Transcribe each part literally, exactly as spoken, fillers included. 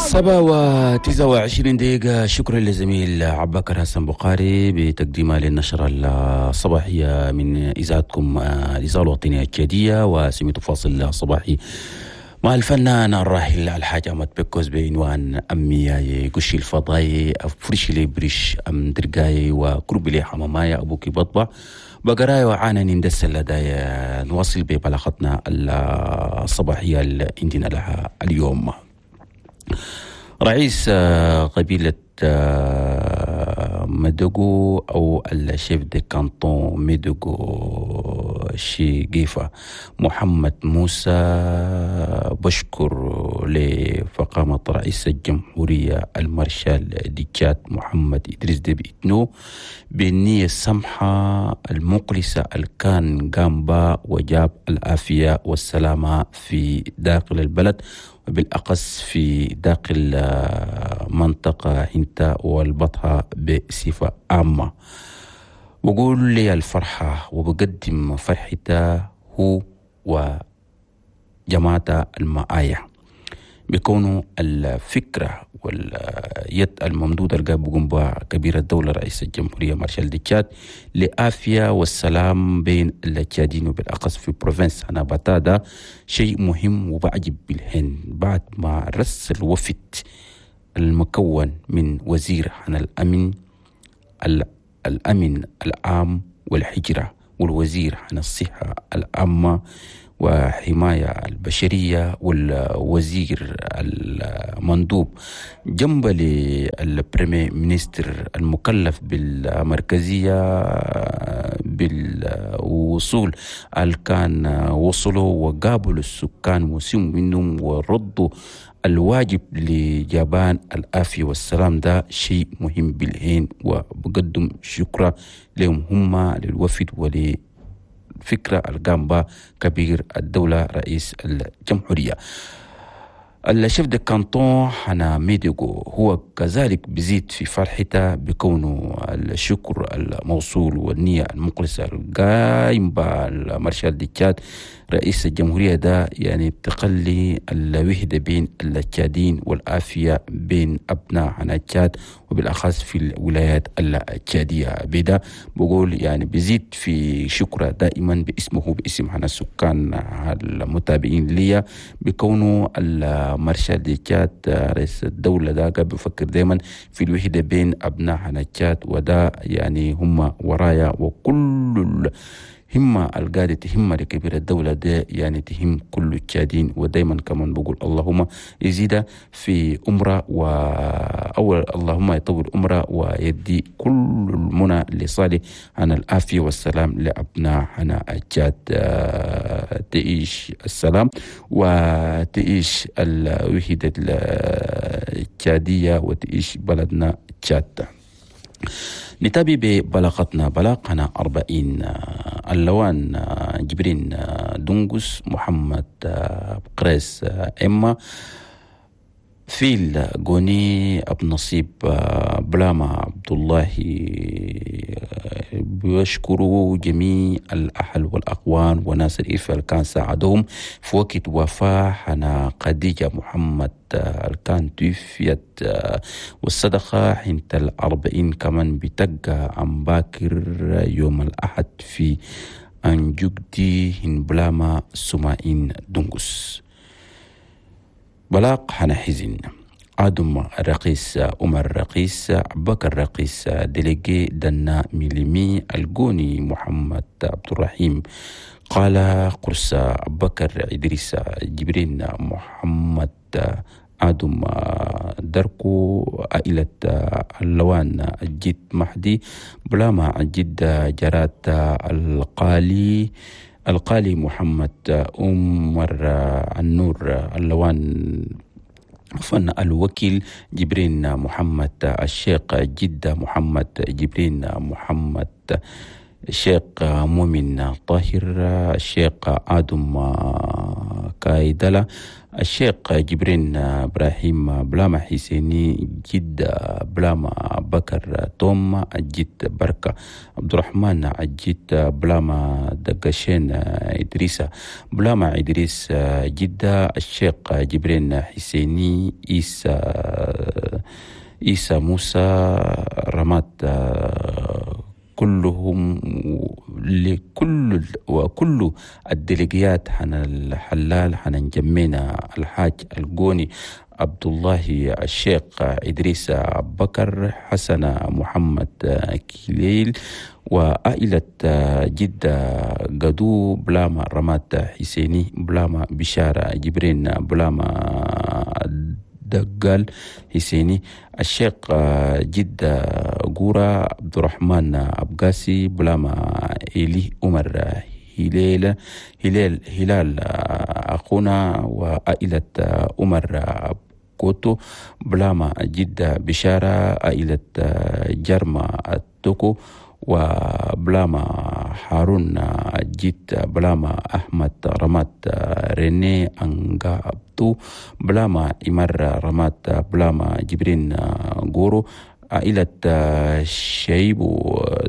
سبعة وتسعة وعشرين دقيقة. شكرا للزميل عباكر حسن بخاري بتقديمه للنشرة الصباحية من إذاعتكم الإذاعة الوطنية التشادية، وسميت فاصل صباحي مع الفنان الراحل الحاج أحمد بكوز بعنوان أمي قشي الفضاي أفرشي لي بريش أم درقاي وكربي لي حماماي أبوكي بطبع بقراي وعانا نندس لداي. نواصل ببلاغتنا الصباحية اللي عندنا لها اليوم. رئيس قبيلة مدوغو أو ال chef de canton ميدوغو شيقيفة محمد موسى بشكر لفخامة رئيس الجمهورية المارشال دي تشاد محمد إدريس ديبي إتنو بالنية السمحة المخلصة الكان قام وجاب العافية والسلامة في داخل البلد وبالأقص في داخل منطقة هنتا والبطحة بصفة عامة. بقول لي الفرحة وبقدم فرحته هو وجماعة المعايا بكونه الفكرة واليد الممدودة اللي بقوم بها كبير الدولة رئيس الجمهورية مارشال دي تشاد لآفية والسلام بين التشادين وبالأخص في province هنا باتادا شيء مهم وبعجب بالهن. بعد ما رسل وفد المكون من وزير عن الأمن الأمن العام والحجرة والوزير عن الصحة العامة وحماية البشرية والوزير المندوب جنب ال premier ministre المكلف بالمركزية بالوصول اللي كان وصلوا وقابلوا السكان وسموا منهم وردوا الواجب لجبان العافية والسلام. ده شيء مهم بالعين وبقدم شكرا لهم هم للوفد ول فكرة الجامبا كبير الدولة رئيس الجمهورية. ال chef de canton حنا ميديغو هو كذلك بزيد في فرحته بكونه الشكر الموصول والنية المخلصة القايم بالمارشال دي تشاد رئيس الجمهورية ده يعني بتقلي الوحدة بين التشادين والعافية بين أبناء حنا تشاد وبالأخص في الولايات التشادية. بدا بقول يعني بزيد في شكره دائما باسمه باسم حنا السكان المتابعين ليا بكونه المارشال دي تشاد رئيس الدولة ده بفكر دائما في الوحدة بين أبناء حنا تشاد، وده يعني هم ورايا وكل همة القادة تهم لكبير الدولة ده يعني تهم كل التشادين. ودايما كمان بقول اللهم يزيد في أمره وأول اللهم يطول أمره ويدي كل المنى لصالح عن العافية والسلام لأبناء حنا التشاد. تعيش السلام وتعيش الوحدة التشادية وتعيش بلدنا تشاد. نتابع ببلاغتنا بلاغنا أربعين اللوان جبرين دونغوس محمد قريس إما فيل غوني أب نصيب بلاما عبد الله بيشكروا جميع الأهل والأقوان وناس الإفل كان ساعدهم في وقت وفاة حنا خديجة محمد كان توفيت والصدقة حين الأربعين كمان بتقى عن باكر يوم الأحد في أنجوكدي هن بلاما سمائين دونغوس. بلاغ حنا حزن آدم رقيس عمر رقيس بكر رقيس délégué دنا ميليمي الجوني محمد عبد الرحيم قال قرصة بكر إدريس جبرين محمد آدم دركو عائلة اللوان الجد مهدي بلاما الجد جرات القالي القالي محمد عمر النور اللوان فن الوكيل جبرين محمد الشيخ جدة محمد جبرين محمد الشيخ مؤمن طاهر الشيخ آدم كايدلا الشيخ جبرين إبراهيم بلاما حسيني جد بلاما بكر توم الجد بركة عبد الرحمن الجد بلاما دقشين إدريسة بلاما إدريس جدة الشيخ جبرين حسيني إيسى إيسى موسى رمات كلهم لكل وكل الديليجيات حن الحلال حن جمينا الحاج القوني عبد الله الشيخ إدريس بكر حسن محمد كليل وعائلة جدة قدو بلاما رمات حسيني بلاما بشارة جبرين بلاما دقال حسيني الشيخ جدة قورة عبد الرحمن أبقاسي بلاما إلي عمر هلال هلال هلال أخونا وعائلة عمر كوتو بلاما جدة بشارة عائلة جرما التوكو وبلاما هارون جيت بلاما أحمد رمات ريني أنغا أبدو بلاما إمر رمات بلاما جبرين غورو عائلة شيب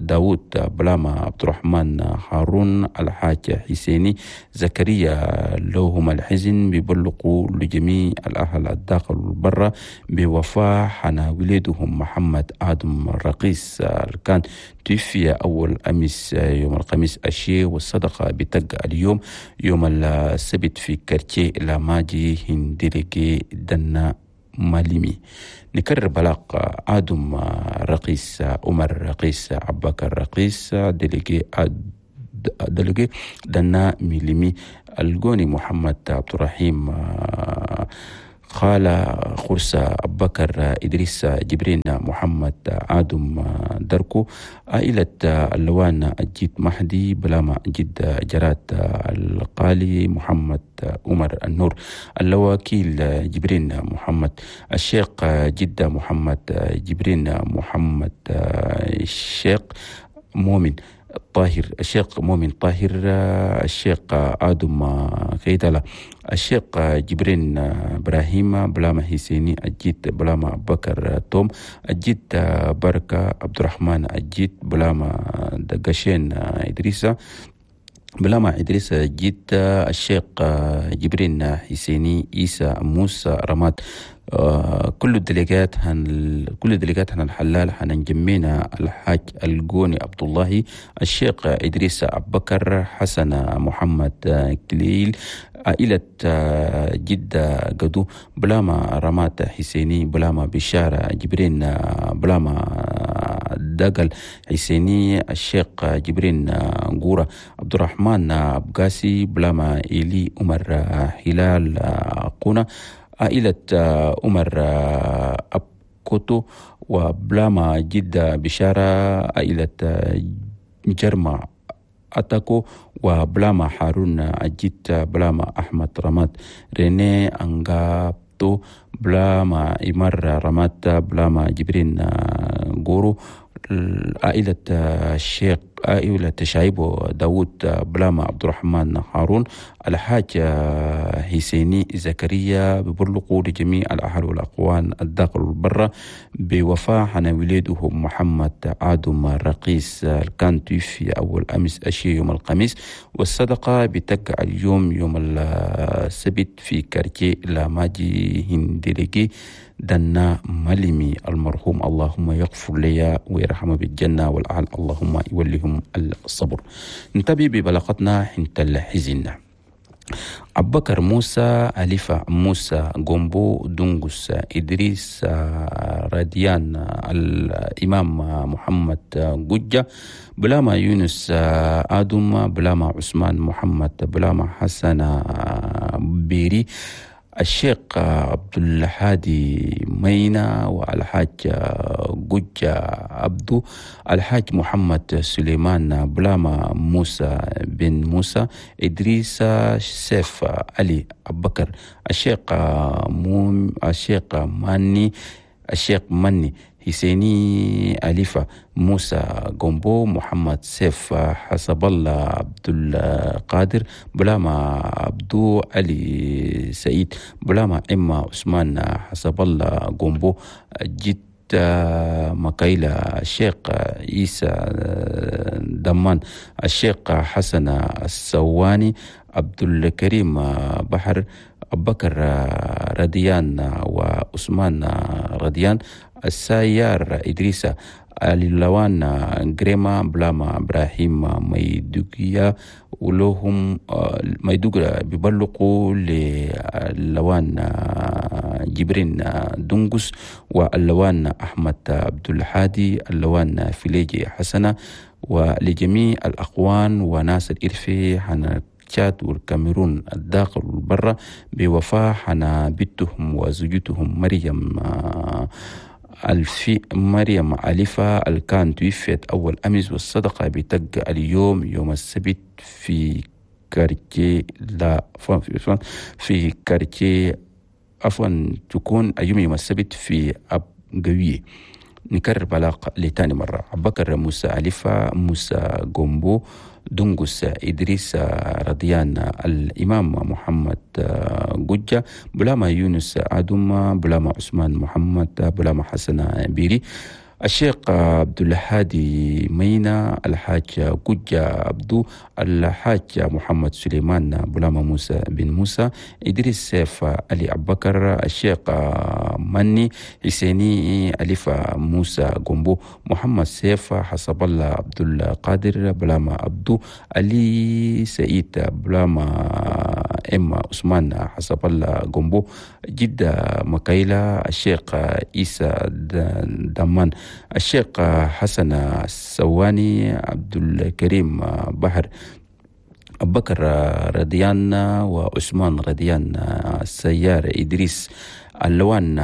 داود بلاما عبد الرحمن هارون الحاج حسيني زكريا لهم الحزن بيبلغوا لجميع الأهل الداخل والبرة بوفاة حنا ولدهم محمد آدم الرقيس كان توفي أول أمس يوم الخميس الشيء والصدقة بتق اليوم يوم السبت في كارتيه لاماجي هندلقي دنا ماليمي. نكرر بلاغ آدم رقيس عمر رقيس عباكر رقيس ديليجي ديليجي دنا ميليمي الجوني محمد عبد الرحيم خالة خرسة أبكر إدريس جبرين محمد آدم دركو عائلة اللوان الجيد مهدي بلاما جد جرات القالي محمد عمر النور اللواكيل جبرين محمد الشيخ جدة محمد جبرين محمد الشيخ مؤمن طاهر الشيخ مؤمن طاهر الشيخ آدم كيدلا الشيخ جبرين إبراهيم بلاما حسيني الجيد بلاما بكر توم الجيد بركة عبد الرحمن الجيد بلاما دقشين إدريسة بلاما إدريس جيد الشيخ جبرين حسيني إيسى موسى رماد كل الدليجات هن كل الدليجات هن الحلال حنجمينا الحاج الجوني عبد الله الشيخ إدريس أبكر حسن محمد كليل عائلة جدة قدو بلاما رمات حسيني بلاما بشارة جبرين بلاما دقل حسيني الشيخ جبرين غورة عبد الرحمن أبقاسي بلاما إلي عمر هلال قونا عائلة عمر أبكوتو وبلاما جدة بشارة عائلة جرما أتاكو وبلاما هارون أجيت بلاما أحمد رمات ريني أنغابتو بلاما إمر رمات بلاما جبرين غورو عائلة الشيخ عائلة شايب داود بلاما عبد الرحمن هارون الحاج حسيني زكريا ببلغوا لجميع الأهل والأقوان الداخل والبرة بوفاة حنا وليدهم محمد آدم الرقيس كان توفي أول أمس أشي يوم الخميس والصدقة بتقع اليوم يوم السبت في كارتيه لاماجي هندلقي دنا ملمي المرحوم اللهم يغفر لي ويرحمه بالجنة والأهل اللهم يوليهم الصبر. نتابع ببلاغتنا حنت الحزن. أبكر موسى أليفة موسى جومبو دونغوس إدريس راديان الإمام محمد جوجة بلاما يونس آدم بلاما عثمان محمد بلاما حسن بيري الشيخ عبد الهادي مينا والحاج جوجة عبدو الحاج محمد سليمان بلاما موسى بن موسى إدريس سيف علي أبكر الشيخ موم الشيخ ماني الشيخ مني حسيني أليفة موسى جومبو محمد سيف حسب الله عبد القادر بلاما عبدو علي سعيد بلاما إما عثمان حسب الله جومبو جد مكايلة الشيخ عيسى دمان الشيخ حسن السواني عبد الكريم بحر بكر رديان وعثمان رديان السيار إدريس اللوان جريما بلاما إبراهيم ميدوغيا ولهم ميدوغرا بيبلغوا للوان جبرين دونغوس واللوان أحمد عبد الحادي اللوان فيليجي حسنة ولجميع الأخوان وناس الإرفي حنا تشاد والكاميرون الداخل والبرة بوفاة حنا بنتهم وزوجتهم مريم الفي مريم أليفة الكان توفيت أول أمس، والصدقة بتق اليوم يوم السبت في quartier لا في quartier عفوا تكون اليوم يوم السبت في أبقوية. نكرر بلاغ لتاني مرة. بكر موسى أليفة موسى جومبو دونغوس إدريس رضيان الإمام محمد جوجة بلاما يونس عدوما بلاما عثمان محمد بلاما حسن بيري الشيخ عبد الهادي مينا الحاج جوجة عبدو الحاج محمد سليمان بلاما موسى بن موسى إدريس سيف علي أبكر الشيخ مني حسيني أليفة موسى جومبو محمد سيف حسب الله عبد القادر بلاما عبدو علي سعيد بلاما إما عثمان حسب الله جومبو جدة مكايلة الشيخ عيسى دمان الشيخ حسن السواني عبد الكريم بحر بكر رضيان وعثمان رضيان السيار إدريس اللوان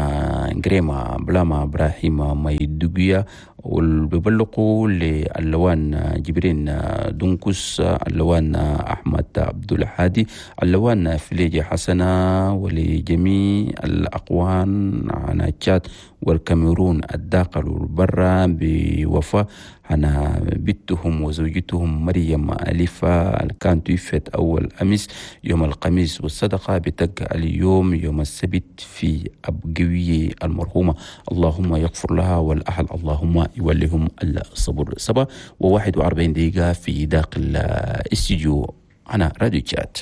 جريما بلاما إبراهيم ميدوغيا والبيبلقوا للوان جبرين دونكوس اللوان أحمد عبد الحادي اللوان فليجي حسنة ولجميع الأقوان عن تشاد والكاميرون الداخل والبرة بوفاة أنا بنتهم وزوجتهم مريم أليفة كانت توفت أول أمس يوم الخميس، والصدقة بتقع اليوم يوم السبت في أبقوية المرحومة. اللهم يغفر لها والأهل اللهم يوليهم الصبر. سبعة وواحد وأربعين دقيقة في داخل استديو أنا راديو تشات.